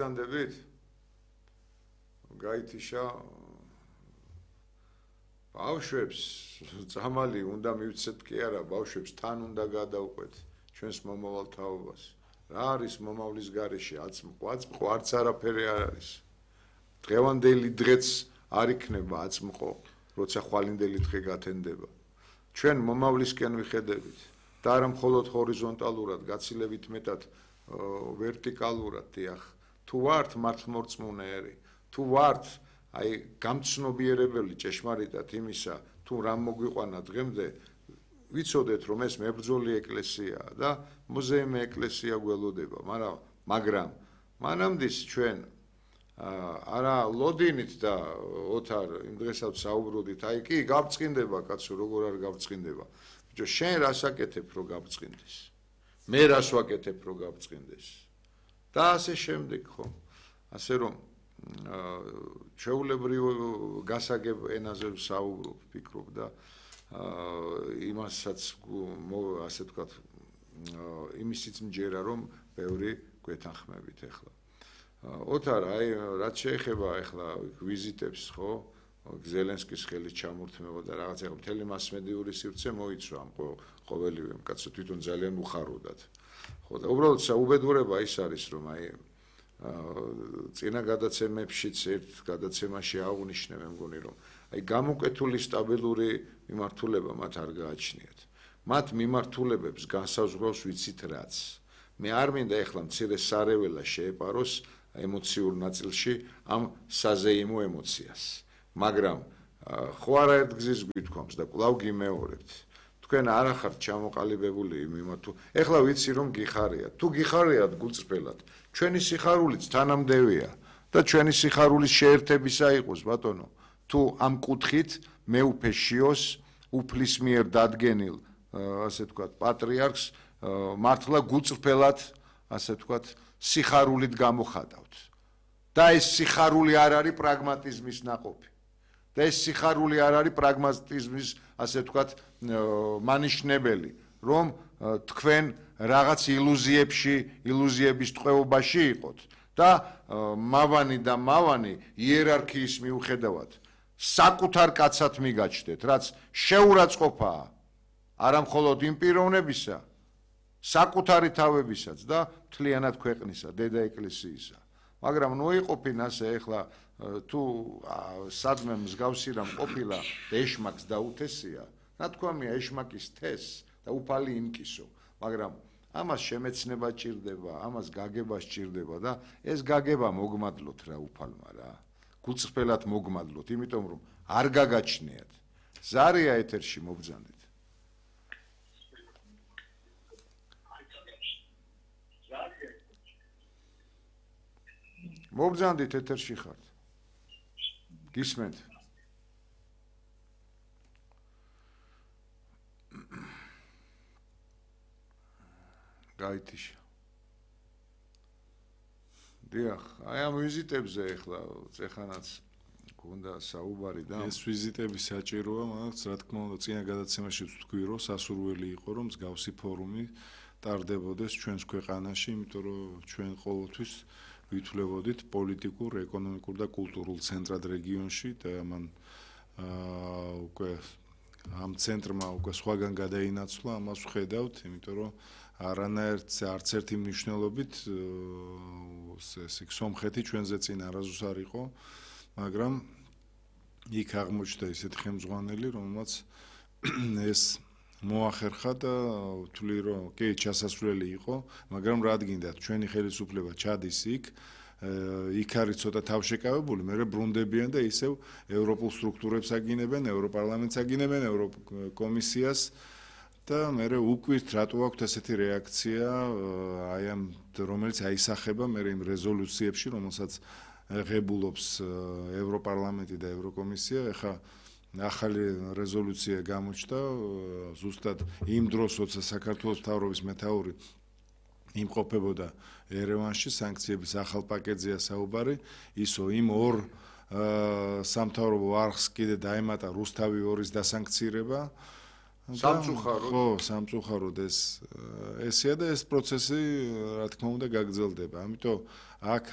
Andebit, გაითიშა ბავშვებს ძამალი უნდა მივცეთ კი არა, ბავშვებს თან უნდა გადავყვეთ ჩვენს მომავალ თაობას. რა არის მომავლის გარეშე? აწმყო არც არაფერი არ არის. დღევანდელი დღეც არ იქნება აწმყო, როცა ხვალინდელი დღე გათენდება. ჩვენ მომავლისკენ ვიხედებით და არა მხოლოდ ჰორიზონტალურად, გაცილებით მეტად ვერტიკალურად, დიახ. თუ ვართ მართლმორწმუნეები, თუ ვართ აი გამცნობიერებელი ჭეშმარიტად იმისა, თუ რამ მოგვიყვანა დღემდე, ვიცოდეთ რომ ეს მებრძოლი ეკლესიაა და მუზეუმი ეკლესია გველოდება, მაგრამ მანამდე ჩვენ არა ლოდინით და ოთარ იმ დღესაც საუბრობდით, აი კი გავწყინდება კაცო, როგორ არ გავწყინდება. ბიჭო, შენ რას აკეთებ რომ გავწყინდეს? მე რას ვაკეთებ რომ გავწყინდეს? და ასე შემდეგ ხო? ასე რომ ჩვეულებრივ გასაგებ ენაზე ვსაუბრობ, ვფიქრობ და იმასაც ასე ვთქვათ, იმისიც მჯერა რომ ბევრი გვეთანხმებით ახლა. ოთარ, აი რაც შეეხება ახლა ვიზიტებს, ხო? ზელენსკის ხელით ჩამორთმევა და რაღაცა მთელი მასმედიური სივრცე მოიცვა ამ ყოველივე კაცო თვითონ ძალიან უხაროდათ. ხო და უბრალოდ საუბედურება ის არის რომ აი წინა გადაცემებშიც ერთ გადაცემაში აღვნიშნე მე მგონი რომ აი გამოკეთული სტაბილური მიმართულება მათ არ გააჩნიათ. მათ მიმართულებებს განსაზღვრავს ვიცით რაც. მე არ მინდა ეხლა მცირე სარეველა შეეპაროს ემოციურ ნაწილში ამ საზეიმო ემოციას. მაგრამ ხო არაერთ გზის გვითქვამს და კვლავ გიმეორებთ. თქვენ არ ახართ ჩამოყალიბებული მიმართულ. ეხლა ვიცი რომ გიხარიათ. თუ გიხარიათ გულწრფელად, ჩვენი სიხარულიც თანამდევია და ჩვენი სიხარულის შეერთებისა იყოს, ბატონო. თუ ამ კუთხით მეუფე შიოს უფლის მიერ დადგენილ, ასე ვთქვათ, პატრიარქს მართლა გულწრფელად, ასე ვთქვათ, სიხარულით გამოხატავთ. და ეს სიხარული არ არის პრაგმატიზმის ნაყოფი. და ეს სიხარული არ არის პრაგმატიზმის, ასე ვთქვათ, მანიშნებელი, რომ თქვენ რაღაც ილუზიების ტყვეობაში იყოთ და მავანი იერარქიის მიუხედავად საკუთარ კაცად მიგაჩნდეთ, რაც შეურაცხყოფაა არა მხოლოდ იმ პიროვნებისა, საკუთარი თავებისაც და მთლიანად ქვეყნისა, დედა ეკლესიისა. მაგრამ ნუ იყოფინ ასე ახლა თუ სადმე მსგავსი რამ ყოფილა ეშმაკს დაუთესია, ნათქვამია ეშმაკის თეს და უფალი იმკისო, მაგრამ ამას შემეცნება ჭირდება, ამას გაგება სჭირდება და ეს გაგება მოგმადლოთ რა უფალმა რა. გულწრფელად მოგმადლოთ, იმიტომ რომ არ გაგაჩნიათ. ზარია ეთერში მობრძანდით. მობრძანდით ეთერში ხართ. გისმენთ? გაითიშა. დიახ, აი ამ ვიზიტებზე ახლა წეხანაც გონდა საუბარი და ეს ვიზიტები საჭიროა, მაგრამ რა თქმა უნდა, წინა გადაცემაში ვთქვი, რომ სასურველი იყო, რომ მსგავსი ფორუმი ტარდებოდეს ჩვენს ქვეყანაში, იმიტომ რომ ჩვენ ყოველთვის ვითვლებოდით პოლიტიკურ, ეკონომიკურ და კულტურულ ცენტრად რეგიონში და ამან უკვე ამ ცენტრმა უკვე სხვაგან გადაინაცვლა, ამას ვხედავთ, იმიტომ რომ არც ერთი მნიშვნელობით სომხეთი ჩვენზე წინ არასდროს არ იყო, მაგრამ იქ აღმოჩნდა ისეთი ხელმძღვანელი, რომელმაც ეს მოახერხა და ვთვლი რომ კი ჩასასვლელი იყო, მაგრამ რა გინდათ, ჩვენი ხელისუფლება ჩადის იქ არის ცოტა თავშეკავებული, მე ბრუნდებიან და ისევ ევროპულ სტრუქტურებს აგინებენ, ევროპარლამენტს აგინებენ, ევროკომისიას და მე უკვირთ რატო აქვს ესეთი რეაქცია, აი ამ რომელიც აისახება მე იმ რეზოლუციებში, რომელსაც ღებულობს ევროპარლამენტი და ევროკომისია, ეხა ახალი რეზოლუცია გამოჩნდა ზუსტად იმ დროს, როცა საქართველოს მთავრობის მეთაური იმყოფებოდა ერევანში, სანქციების ახალ პაკეტზეა საუბარი, ისო იმ ორ სამთავრობო არხს კიდე დაემატა რუსთავი 2-ის დასანქცირება სამწუხაროდ. ხო, სამწუხაროდ ესია და ეს პროცესი, რა თქმა უნდა, გაგრძელდება. ამიტომ აქ